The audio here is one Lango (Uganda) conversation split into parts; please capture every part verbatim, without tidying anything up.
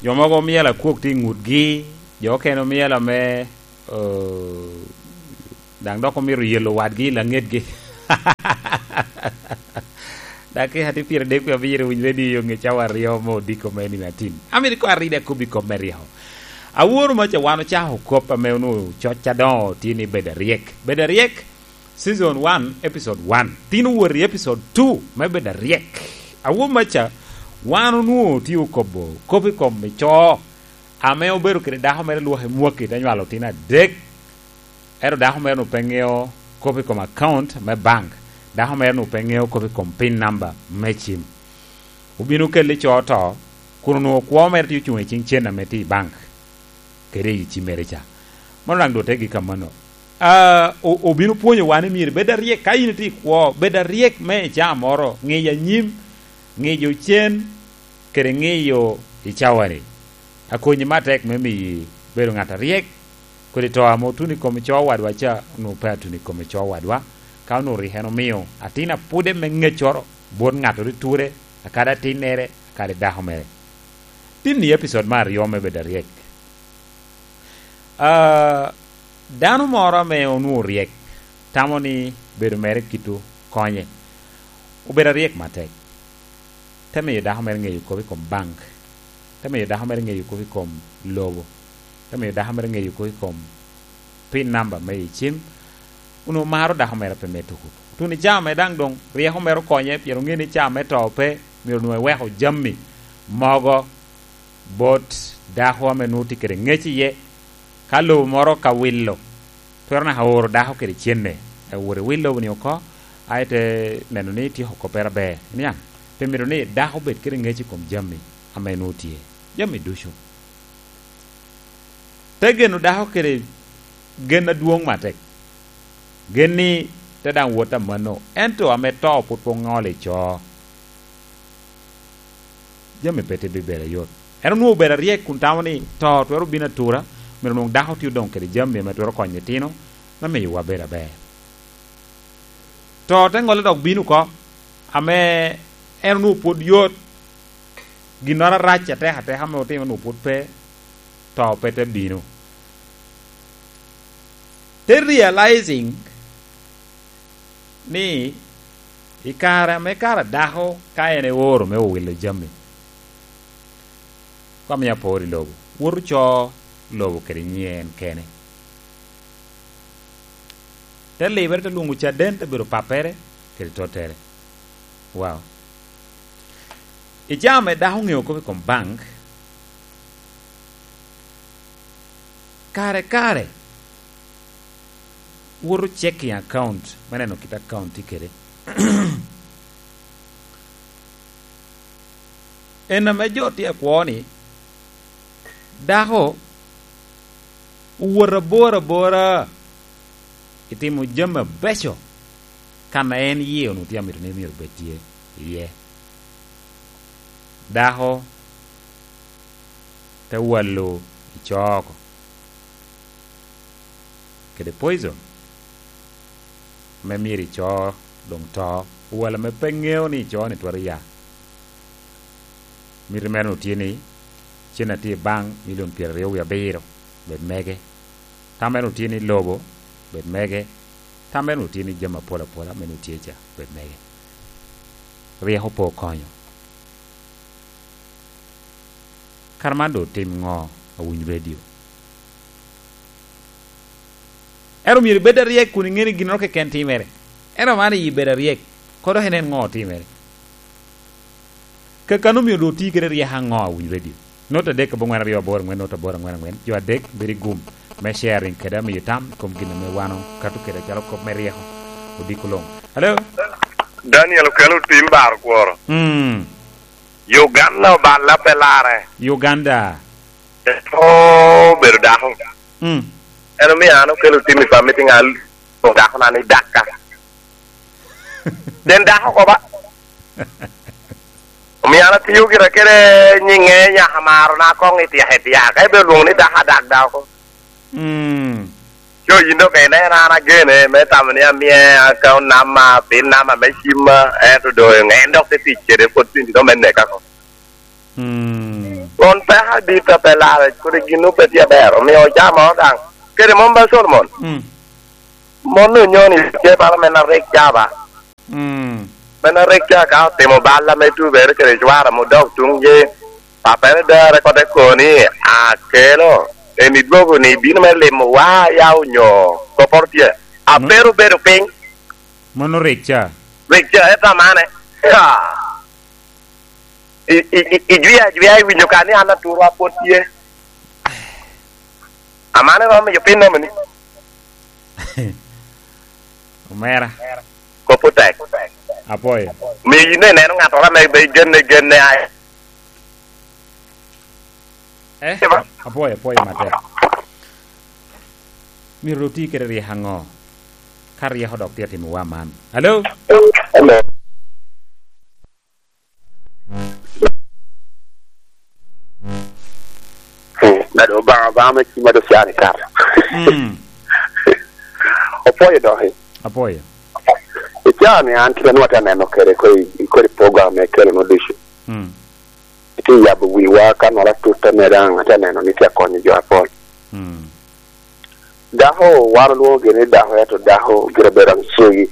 Jo mogo myel akwok tye i ngutgi, jo okene myel ame, eh, daŋ dok omito yelo wadgi i laŋetgi. Dakika tye pyeradek wie abiro winy redio yo ŋe cawa aryo me odiko me nino atin. Amito ko aride akobbi kop me ryeko. Aworo maca wan ocako kop ame onwoŋo coc adoŋo tye ni bedo aryek. Bedo aryek, season one, episode one. Tin owot i episode two me bedo aryek. Aworo maca wan onwoŋo tye okobo kop i kom ico ame obedo kede dako mere lwak i mwaki te nywalo otino adek. Ento dako mere-nu pe ŋeo kop i kom account me bank. Dako mere-nu pe ŋeo kop i kom pin number me cim. Obino kelle co oto, kun onwoŋo kwo mere tye ocuŋ i ciŋ cen ame tye i bank, kede i cimmere ca. Mano daŋ dote gik amanno. Ah, o-, obino pwonyo wan ni myero ibed aryek. Ka in itye i kwo, bed aryek me i caa moro, ŋiyo anyim, ŋiyo cen, kede ŋiyo i cawani. Akonyi me atek me miyi bedo ŋat aryek, kodi to ame otuno i kom ico wadwa ca, onwoŋo pe atuno i kom ico wadwa, ka onwoŋo rik en omio atin apwode me ŋeccoro bot ŋattoro i ture, akadi atinnere, akadi dako mere. Tin i episode me aryo me bedo aryek. Ah, dano moro ame onwoŋo ryek tamo ni bedo mere kito konye. Obedo aryek matek. Te miyo dako mere ŋeyo kop i kom bank. Te miyo dako mere ŋeyo kop i kom lobo. Te miyo dako mere ŋeyo kop i kom pin namba me i cim. Onwoŋo maro dako mere pe me tuku. Tuno i caa me daŋ doŋ ryeko mere okonye, pien oŋeo ni caa me to pe, myero onwoŋo eweko jami mogo bot dako ame nwoŋo tye kede ŋec iye. Ka lobo moro ka wilo, twero naka oro dako kede cenne, ewot ewil lobo-ni oko, aye te neno ni ityeko koppere aber. Iniaŋ? Pe myero ni dako obed kede ŋec i kom jami ame nwoŋo tye. Jami ducu. Te geno dako kede gen adwoŋ matek. Gen ni te daŋ wot amanno, ento ame to pwod pe oŋolo i co. Jami pe te bibedo ayot. En onwoŋo obedo aryek kun tamo ni to twero bino atura, myero onwoŋ dako tye odoŋ kede jami ame twero konyo itino, me miyowa bedo aber. To te ŋolle dok bino oko, ame en onwoŋo pwod yot, ginnoro arac atek ateka ame otimo onwoŋo pwod pe, to pe te bino. Te realizing ni i kare ame kara dako ka en eoro me owilo jami, ka mio apor i lobo, woto co lobo kede nyiŋe en kene. Te libere, te lwoŋo caden, te bedo pappere kede tottere. Wow. I caa ame dako oŋeo kop i kom bank, kare kare woto checking account me neno kit account tye kede. En ame jo tye akwo ni, dako owot abor abora i timo jami abeco, kan a en yie onwoŋo tye amito ni myero obed tye iye. Dako te walo i co oko kede poison, ame myero ico doŋ to, owal ame pe ŋeo ni ico ni twero ya. Miti mere onwoŋo tye ni cen a tye i bank milion pyeraryo wie abiro bed mege. Tam mere onwoŋo tye ni lobo bed mege. Tam mere onwoŋo tye ni jami apol apola ame onwoŋo tye ca bed mege. Ryeko pe okonyo. Kara man doŋ otim ŋo, awiny redio? Ento myero ibed aryek kun iŋeo ni ginnoro keken timere. Ento man i bedo aryek, kono dok inen ŋo otimere. Kakano myero doŋ oti kede ryeko aŋo, awiny redio? Nota adek aboŋwen aryo aboro aŋwen, nota aboro aŋwen aŋwen, jo adek bedo i gum me sharing kede amiyo tam i kom gin ame wan okato kede acalo kop me ryeko odiko luŋ. Hello? Daniel okelo tim bar kworo. Mm. Uganda oballe pe larre. Uganda. Eto obedo dako. Mm. En omio an okelo tim i family, ŋal dako na ni Dakka. Den dako ko ba. Omio an atiyo gira kede nyiŋe nyaka maro na koŋ i tyaka i tyaka. Ka ibedo lwoŋo ni dako adak dako. Mm. Co yin dok en, en an agene me tamo ni amie account number, pin number me cimma, ento doŋ en dok te tic kede pwod tin dok me neka ko. Mm. Won peko adit a pe lare, kodi gin pe tye aber, omio ocamo daŋ. Kede mon ba Solomon. Mm. Mon onyo ni tye bala men a rik ca ba. Mm. Men a rik ca ka otimo bal ame tubere kede cwara mudok tuŋ ye, papere dare kote koni, akelo, emi dwogo ni bino me limo wa ya onyo koporo tye. Mm. Abero bedo piny. Mano rik ca. Rik ca, eto amane. Ha. I, i, i, ijwia, ajwia, iwinyo ka ni an aturwa pwod tye. Amane romo miyo piny nemo ni. Omera. Kop otek. Apoyo. Miyo yin ineno ŋattoro ame be genne, genne ai. Eh? Ema. Apoyo, apoyo matek. Myero oti kede ryeko aŋo? Ka ryeko dok tye atimowa man. Alo? Alo? Hmm, nado Obaŋa, Obaŋa me cima do can i kare. Mm. Opwoyo doki. Apwoyo. I caa ni an kite nwa te neno kede ko i, i kodi program me kelo no ducu. Mm. Iti yabo wiwa ka nwala tutta me daŋ ate neno ni tye akonyo jo apol. Mm. Dako, wan olwoŋo gini ni dako, ento dako gire bedo aŋ cegi.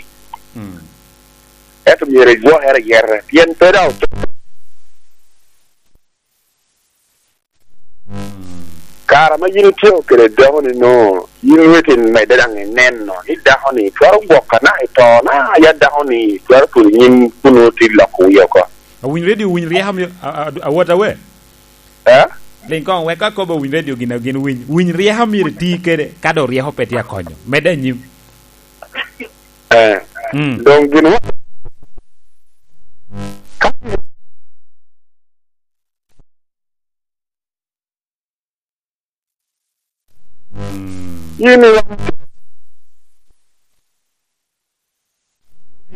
Mm. Ento myero igwokere ayeta, pien pe daŋ oto. Mm. Kare ma yin itye kede dako ni no, yin weti medde daŋ ineno ni dako ni twero gwok anaka i to na, ya dako ni twero tulo nyim kun nwoŋo ti loko wie oko. Awiny redio, winy ryeko mi-, a, a, a, awot awe? Eh? Liŋ koŋ, wek ka kobo winy redio gin, gin winy, winy ryeko myero iti kede, ka do ryeko pe tye akonyo. Medde anyim. Eh. Mm. Doŋ gin wa-, ka Mm. Yin i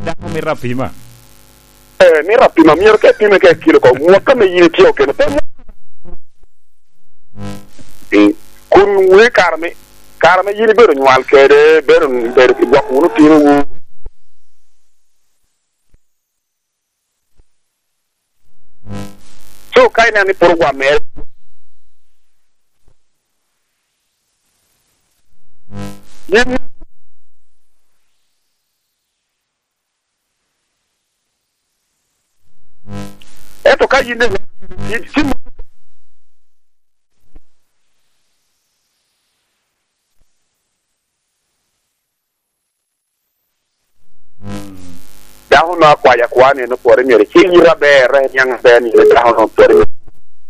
dako mito apima. Eh, mito apima, myero ka ipime ka ikilo oko, mwaka me yin itye okene, pe mwa-, eh, kun wee kare me, kare me yin ibedo nywal kede, bedo, bedo gwoko wunu otinowu. So, ka ineno ni pwod ogwammere, yin, ento ka yin, yin, yin, dako no akwayo akwa ni en opwore myero icik yite aber, iniaŋ aber ni en dako no opwore.